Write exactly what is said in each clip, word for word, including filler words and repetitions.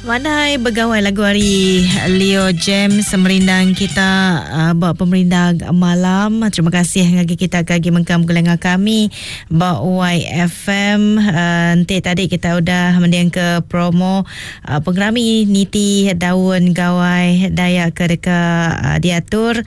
Mandai begawai lagu hari Leo James merindang kita uh, buat pemerindang malam. Terima kasih ngagi kita kagi mengkam gelenga kami ba Y F M. Uh, nanti tadi kita udah mendiang ke promo uh, pengerami niti daun gawai Dayak ke deka uh, diatur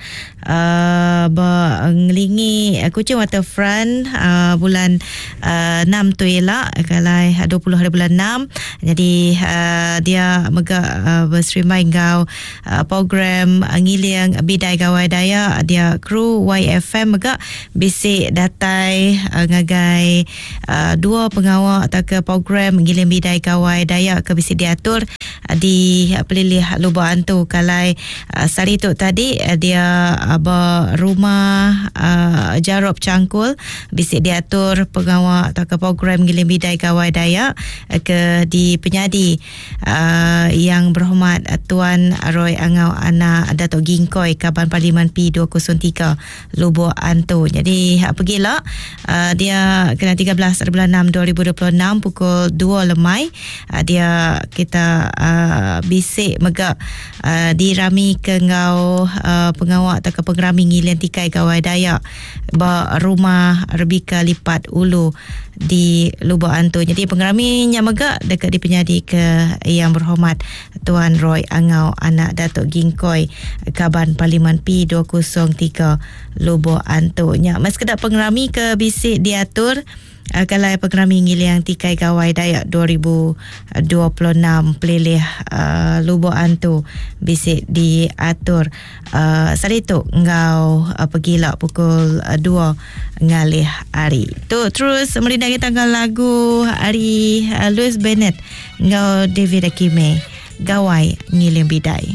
uh, ba ngelingi uh, Kuching Waterfront uh, bulan uh, enam tu elak kalai dua puluh hari bulan enam. Jadi uh, dia mega uh, berserimai ngau uh, program uh, ngiling bidai gawai Dayak dia kru Y F M mega bisik datai uh, ngagai uh, dua pengawal atau ke program ngiling bidai gawai Dayak ke bisik diatur uh, di uh, Pelilih Lubok Antu kalai uh, sari tu tadi uh, dia uh, berumah uh, Jarob Cangkul bisik diatur pengawal atau ke program ngiling bidai gawai Dayak uh, ke di Penyadi uh, Uh, yang berhormat uh, Tuan Roy Angau anak Datuk Gingkoi Kaban Parlimen P dua kosong tiga Lubok Antu. Jadi uh, pergilah uh, dia kena tiga belas bulan enam dua ribu dua puluh enam pukul dua lemai uh, dia kita uh, bisik megak uh, dirami ke ngau uh, pengawak atau ke pengerami ngilian tikai gawai Dayak ba rumah Rebecca Lipat Ulu di Lubok Antu. Jadi pengeraminya megak dekat di Penyadi ke yang berhormat Tuan Roy Angau anak Datuk Gingkoi Kaban Parlimen P dua kosong tiga Lubok Antu. Nya mas kedak pengerami ke bisik diatur uh, kalau pengerami ngiliang tikai gawai Dayak dua ribu dua puluh enam Pelilih uh, Lubok Antu bisik diatur uh, sari tu ngau uh, pergilak pukul uh, dua ngalih hari. Tu terus merindang tanggal lagu hari uh, Louis Bennett ngau David Akime Gawai Ngiling Bidai.